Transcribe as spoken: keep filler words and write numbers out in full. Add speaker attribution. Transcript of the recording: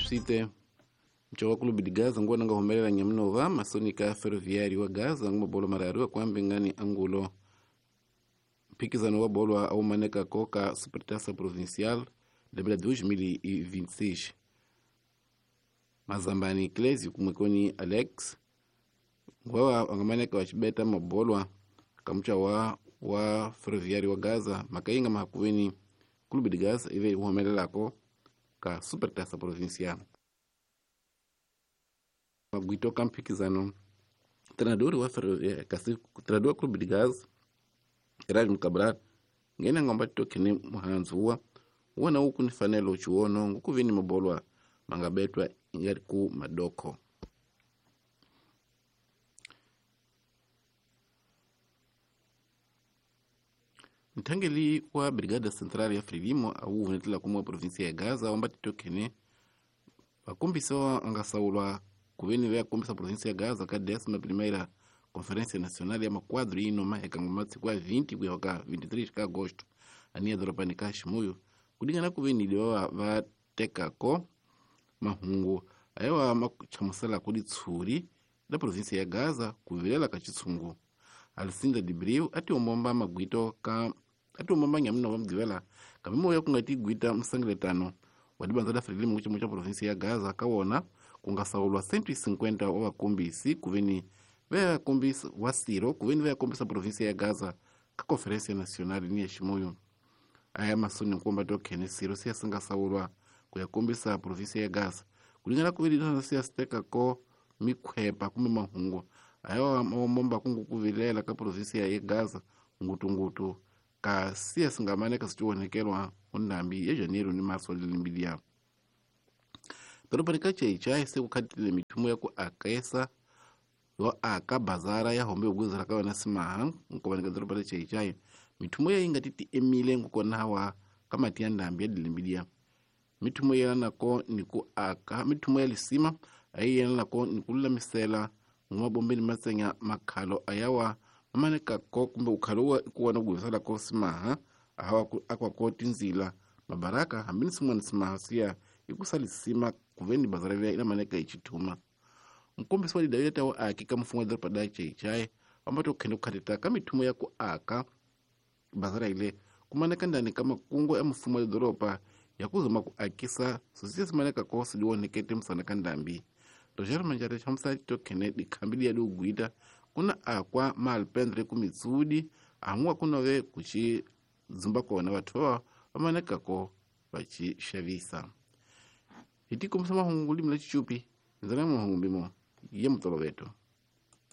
Speaker 1: Swite mchowa Clube de Gaza nguwa nanga humelela nyamnova masonika Ferroviário wa Gaza nguma bolo mararu akwambe ngani angulo mpikizano wa bolo au maneka koka Supertaça Provincial de dois mil e vinte e seis. Mazambani Clésio kumwekoni Alex ngwawa angamaneka wachibeta mabolwa kamucha wa wa Ferroviário wa Gaza makainga mahakuweni Clube de Gaza ive humelelako ka Supertaça Provincial. Magwito kampikizano treinador wa Ferroviário kasi treinador Clube de Gaza Erasmo Cabral ngena ngomba tokene muhanzuwa wona uku ni fanelo chiwono ngukuvini mabolwa mangabetwa ingari ku madoko. Mtangeli wa Brigada Central ya Frelimo au unetela kumwa provinsia ya Gaza wamba titokene wakumbisowa angasaulwa kuveni vya kumbisa provinsia ya Gaza ka décima primeira Conferência Nacional ya maquadro ino maheka ngomati kwa vinte kuyoka vinte e três de agosto ania doropani ka Chimoio kudingana kuveni liwa vatekako mahungu ayewa machamusela kudi tsuri da província ya Gaza kuvilela ka chitsungu. Alcinda de Breu ati omomba magwito ka ati omomba nyamuna wa mgivela kamimo ya kungati gwita msangiletano wadibanza da Frelimo kuchimo cha província ya Gaza kawona kungasaulwa cento e cinquenta wa wakumbisi kuveni vea kumbisi wasiro kuveni vea kumbisa província ya Gaza ka Conferência Nacional ni ya Chimoio. Aya masoni nkumba tokene siro siya singasaulwa kuyakumbisa província ya Gaza kulingana kuveni na siya steka ko mikhwepa kumbe mahungu ayo momba kungu kuvilela ka província ya Gaza ngutungutu ka siya singamaneka sichiwonekelwa undambi ya janeiro ni março lilimbilia. Doroba ka Chaichai sekukhatile mithumo ya ku akesa yo aka bazara ya hombe ugwizira ka wena simaha nkovaneka doroba la Chaichai mithumo ya inga titi emile ngukonawa ka mati ya ndambi ya dilimbilia. Mithumo ya nako ni ku aka mithumo ya lisima ayi yena nako ni ku lulamisela ngumabombeni matsenya makhalo ayawa mamaneka ko kumbe ukhalo wa kuwana kugwizela ko simaha ahawa akwa ko tinzila mabaraka hambini simwana simaha siya ikusalisima kuveni bazara vya ina maneka ichituma. Mkumbisi wa lidawile tawa aki ka mfungo doroba da Chaichai ambato kende kukhatita ka mithumo ya ku aka bazara ile kumaneka ndani ka makungu ya mfumo wa doroba ya kuzuma ku akisa sosiya simaneka ko siliwonekete msana ka ndambi. Roger Manjare chamsa tokene dikhambili ya dugwita kuna akwa malpendre kumitsudi amwa kunove kuchi zumba kona bathu ba bamaneka ko bachishavisa. Itikumsa mahungu limla chichupi nzana mahungu mbimo ye mutoloveto.